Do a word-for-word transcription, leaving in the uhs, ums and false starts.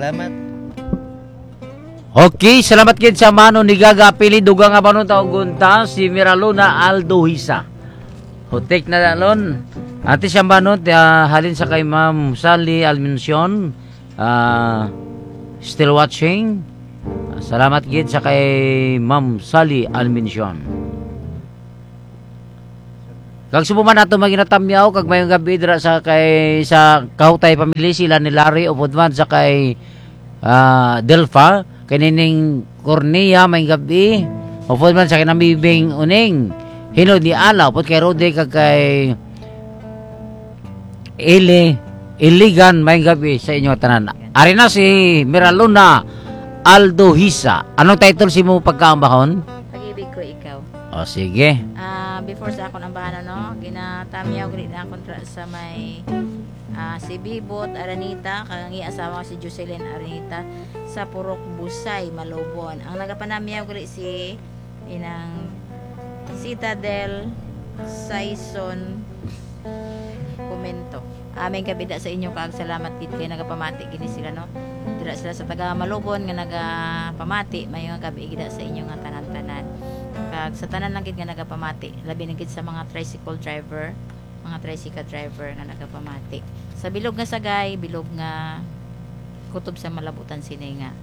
Salamat. Okay, salamat gid sa mano ni Gaga Pili, dugang nga mano ta og unta, si Miraluna Aldo Hisa. Hutik na dalon. Ate siya mano, ah, halin sa kay Ma'am Sally Almencion, ah, still watching. Ah, salamat gid sa kay Ma'am Sally Almencion. Kag subo man nato maginatamyaw kag mayong gabi dira sa kay sa Kahutay family, sila ni Larry, upod man sa kay, ah, Delfa, kay Nining Cornea, mayong gabi, upod man sa kay Namibing Uning, Hinod ni Ala, upod kay Rode kag kay Ili Iligan, mayong gabi sa inyo tanan. Ari na si Miraluna Aldo Hisa. Anong title si mo pagkaambahon? Pag-ibig ko ikaw. O sige. Ah, before sa akon ambahan, no, ginatamyaw gid na kontra sa may, ah, si Bibot Aranita, kag ang iya asawa si Jocelyn Aranita sa Purok Busay, Malubon. Ang nagapanamyaw gali si inang Citadel Saison Comento. Aming kabida sa inyo kag salamat gid kay nagapamati gini sila, no. Dira sila sa taga Malubon nga nagapamati, may nga gabi gida sa inyo nga tanan-tanan. Kag sa tanan lang gid nga nagapamati, labi na gid sa mga tricycle driver, mga tricycle driver nga nagapamati. Sa bilog nga sagay, bilog nga kutob sa malabutan sini nga